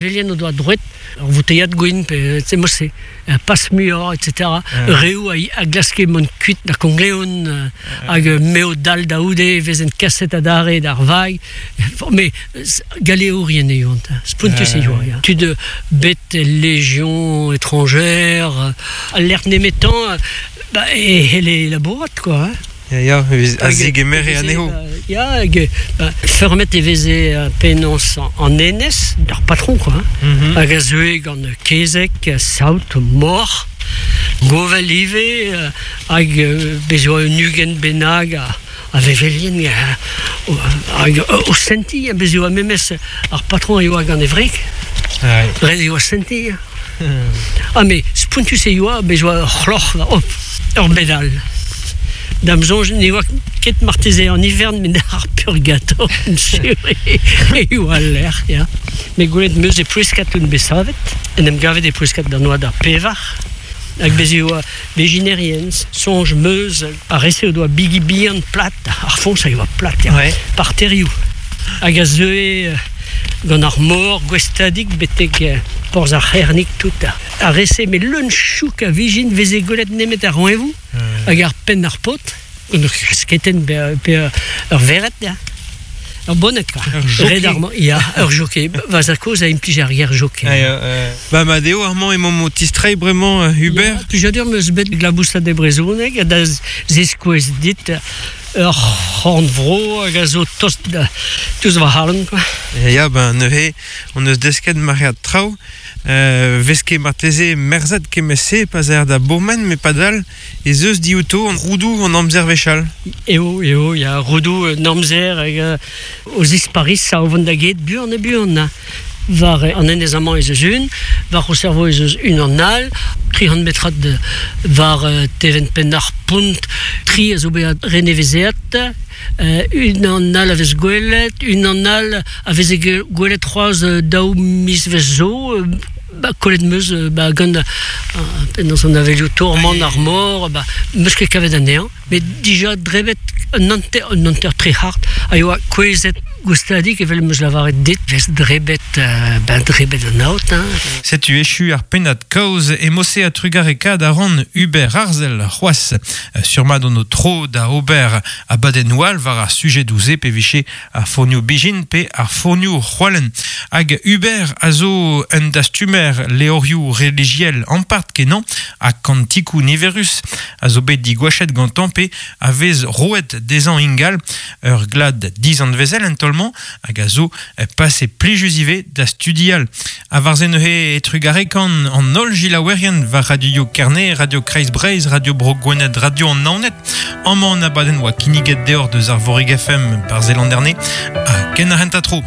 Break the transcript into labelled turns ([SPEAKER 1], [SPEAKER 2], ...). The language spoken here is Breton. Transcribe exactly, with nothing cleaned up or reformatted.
[SPEAKER 1] Velien o doa droet, ur vouteiad gwin, pe se mosse, pas muioc'h, et cetera. Reoù a, a glaske mont kuit da Kongleon, hag meo dal da oude, vezen kaset adarre d'ar vag. Mais galeourien eo, spontus eo. Ya. Tud bet légion étrangère, alert nemetan, ba, e hele labourat, quoi. Hein.
[SPEAKER 2] Ya, ya, a zigemere anezho.
[SPEAKER 1] Ya, hag, ba, fermet e veze penaos an enez, d'ar patron, quoi. Hein. Mm -hmm. Hag a zeue gant kezek, saout, mor, govel ive, hag bez oa un ugent bennak a, a vevelien, hag o senti, bez oa memes ar patron a yoa gant e wreg. Ret e oa senti. Ah, mais spontus e yoa, bez oa ur c'hloc'h, hop, ur bedal. Dam soñj ne oa ket marteze an ivern met ar purgator sur e oa l'air, ya. Me gwelet meus e Plouescat un bet savet, en em gavet e Plouescat d'an oad ar pevar, hag bez e oa beginerien, soñj meus ar rese o doa bigi bihan plat, ar foñs a oa plat, ya, ouais. Par terioù. Hag a zeue gant ar mor gwestadig betek porzh ar c'hernig tout. Ar rese me leun chouk a vijin veze gwelet nemet ar roeñvoù, hag ar penn ar paotr, ur kasketen pe, pe ur verret, ya. Ur bonnet, quoi.
[SPEAKER 2] Ur jockey.
[SPEAKER 1] Ya, ur jockey. Va za koz a implij ar ger jockey.
[SPEAKER 2] Ah, ya, euh... Ba ma deo ar mañ emañ o tistrei bremañ Hubert.
[SPEAKER 1] Ya, plijadur meus bet glabousat e brezhoneg da zeskouez dit ur c'horn-vro hag a zo tost da touz va c'halon, quoi.
[SPEAKER 2] Ya, ben neuze, on eus desket maread traoù. Euh, veske marteze merzet kemese pas er da bourmen, me padal ez eus diouto an roudou an amzer vechal.
[SPEAKER 1] Eo, eo, ya, roudou an amzer hag o zisparis sa o vont da get buan e buan. War an enez amañ ez eus un, war o servo ez eus un an all, tri c'hant metrad war teven penn ar pont, tri a zo beat renevezeat, un an all a vez gwelet, un an all a veze gwelet c'hoazh daou miz vez zo, ba, kollet meus ba, gant penaos an avelioù tourmant ar mor, ba, meus ket kavet anezhañ, met dija drebet un hanter, un hanter tre hart, a yoa kouezhet goustadik evel meus lavaret dit, vez drebet, euh, ben drebet an aot. Hein.
[SPEAKER 2] Setu echu ar pennad kaoz e mose a trugarekaat a ran Hubert Arzel c'hoazh surmat on o tro da ober a baden oal war ar sujet douze pe viche ar fournioù bijin pe ar fournioù c'hoalen. Hag Hubert a zo un dastumer leorioù religiel ampart kenan ha kantikou niverus a zo bet digwachet gantan pe a vez roet dezhañ ingal ur glad dizant vezel en tolman hag a zo pase plijus ive da studial. A war ze neuze e trugarekan an holl gilaouerien war Radio Kerne, Radio Kreiz Breizh, Radio Bro Gwened, Radio an Naoned. Amañ an abadenn oa kinniget deoc'h deus ar Vorig F M bar Zelanderne ha ken ar hent a tro.